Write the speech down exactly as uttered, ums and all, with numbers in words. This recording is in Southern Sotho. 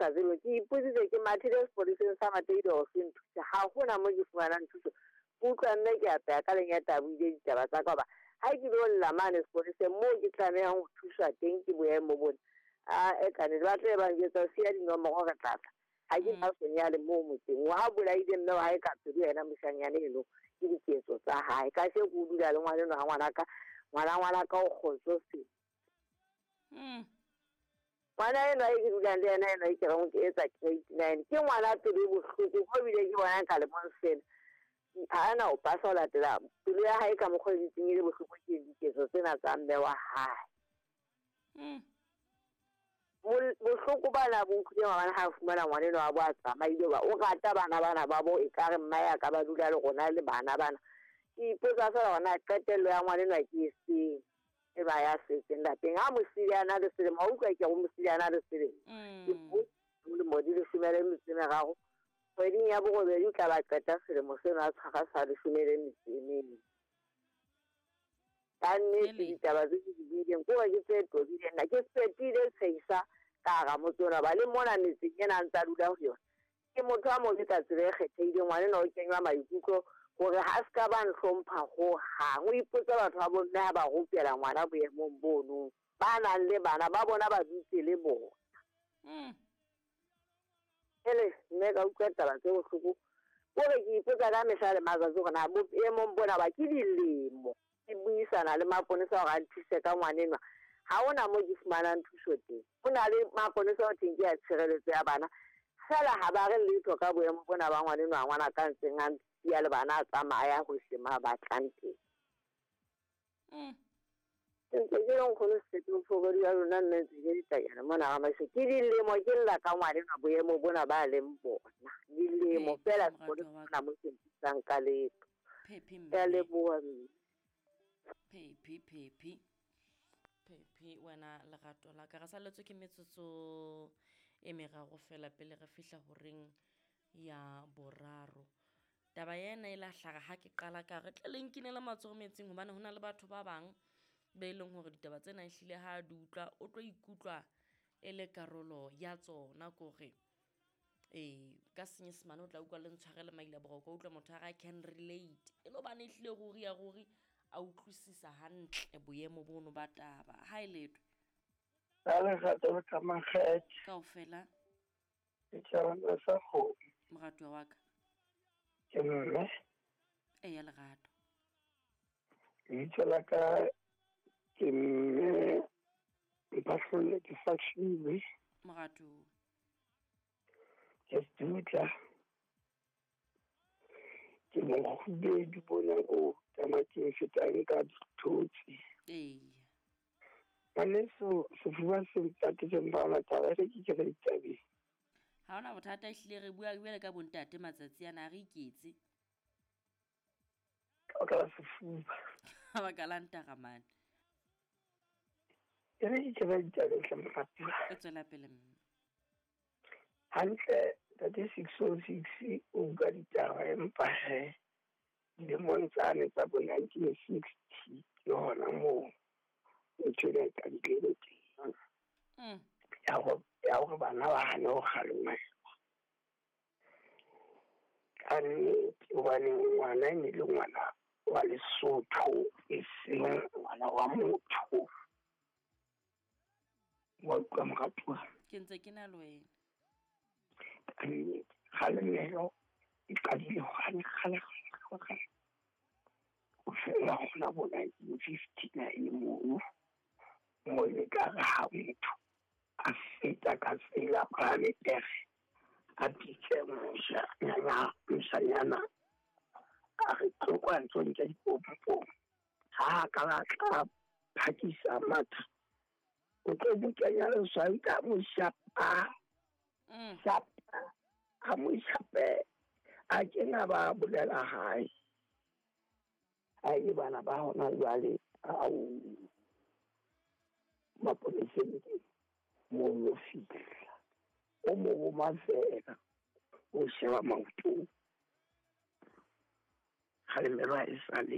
sa tsebe, ke ipotsitse ke mathile sepoleseng sa Mateile hore se nthuse. Ha hona mo ke fumanang thuso. Ke utlwa mme ke apeha ka lenyata a buile ditaba tsa ka hoba ha ke lo lla mane sepoleseng moo ke tlamehang ho thuswa teng ke boemo bona. A e kannete ba tla be ba njwetsa siya dinomoro re tla tla. Ha ke na sonyale moo motseng. Wa bolaile mme wa hae ka pelo yena moshanyana eno ke diketso tsa hae. Kasheko o dula le ngwaneno ha ngwanaka, ngwana ngwanaka o kgotsofetse. Mm. Ngwana enwa e ke dulang le yena enwa e ke reng ke etsa grade nine. Ke ngwana pelo e bohloko ho bile ke bona ka lemong sena. Ha ana o pasa ho latela pelo ya hae ka mokgwa o dutseng e le bohloko ke diketso tsena tsa mme wa hae. Mm. Bohloko bana bo nkutlwe maobane ha fumana ngwaneno wa bo a tsamaile hoba o rata bana bana ba bo ekare mma ya ka ba dula le rona le bana bana. Ke ipotsa feela hore na qetello ya ngwanenwa ke efeng e ba ya setseng lapeng. Ha mosidi a na le selemo, wa utlwa ke re mosidi a na le selemo. Ke dilemo di leshome le metso e meraro. Kgweding ya borobedi o tla ba qeta selemo sena a tshwara sa leshome le metso e mene. Ka nnete ditaba tse ke di buileng ke hore ke tse tobileng nna ke fetile tshehisa ka hara motse ona hoba le mona metseng ena a ntsa dula ho yona. Ke motho a mobe ka tsela e kgethehileng, ngwanenwa o kenywa maikutlo hore ha se ka ba nhlompha hohang. O ipotsa batho ba bomme ha ba rupela ngwana boemong bono. Ba nang le bana ba bona ba dutse le bona. Mm. Ele mme ka utlwa taba tse bohloko. Kore ke ipotsa ka mehla le matsatsi hore na boemong bona ba ke dilemo. Ke buisana le maponesa hore a nthuse ka ngwanenwa. Ha hona moo ke fumanang thuso teng. Ho na le maponesa ho thweng ke ya tshireletso ya bana. Feela ha ba re letho ka boemo bona ba ngwanenwa ngwana ka ntseng a ntsiya le bana a tsamaya hohle mo a batlang teng. Mm. Ke ntse ke le nkgono Sepe phokodi ya lona nna ntse ke ditanyana mona ga mašo. Ke dilemo ke lla ka ngwanenwa boemo bona ba leng bona. Dilemo feela Phephi sekolo moratuwa wa sena ka. mo se nthusang ka letho. Phephi Ke a mme. leboha mme. Phephi phephi. Phephi wena lerato la ka. Re salletswe ke metsotso e meraro fela pele re fihla horeng ya boraro. Taba ena e la hlaha ha ke qala ka re tle le nkinele matsoho metsing hobane hona le batho ba bang be leng hore ditaba tsena ehlile ha di utlwa o tlo ikutlwa e le karolo ya tsona kore eh ka senyesemane o tla utlwa le ntshwarele maila boroko o utlwa motho a re I can relate e le hobane ehlile ruri ya ruri a utlwisisa hantle boemo bono ba taba. Ha e letho. Ka lerato le ka makgethe. Kaofela. Ke tjhabana sa kgomo. Moratuwa wa ka. Ke mme. Eya lerato. Lebitso la ka ke mme Mphahlole ke Fahlile. Moratuwa. Ke Sedutla. Ke mokgubedu bona o tamateng fetang ka dithotse. Eya. Ngwaneso sefuba se ntatetse mpa taba e re ke ke re ditabeng. Ha hona bothata ehlile re bua jwale ka bontate matsatsi ana a re iketse. Ka baka la sefuba. Ka baka la ntaramane. E re ke ke re ditabeng hle moratuwa. E tswela pele mme. Hantle ntate six oh six o bua ditaba empa he dilemong tsane tsa bo nineteen sixty ke hona moo ntho ena e qadileng teng. Mm. Ya hore, ya hore bana ba hane ho kgalemelwa. Ka nnete hobane ngwana e ne le ngwana wa Lesotho e seng ngwana wa motho. Wa utlwa moratuwa? Ke ntse ke na le wena. Ka nnete kgalemelo e qadile kgale kgale kgale kgale. Ho fela hona bo nineteen fifty nine mono. Mo e ka re ha motho a feta ka tsela palame pere a bitse moshanyana moshanyana a re tlo kwa ntlong tsa dipompong. Ha ka ba tla phakisa matha o tlo mo kenya leswai ka mo shapa. Mm. Shapa a mo shape a kena ba bolela hae. Ha e bana ba hona jwale ao maponeseng ke mo lo fihla. O mo roma fela o sheba maoto. Kgalemelo ha e sa le.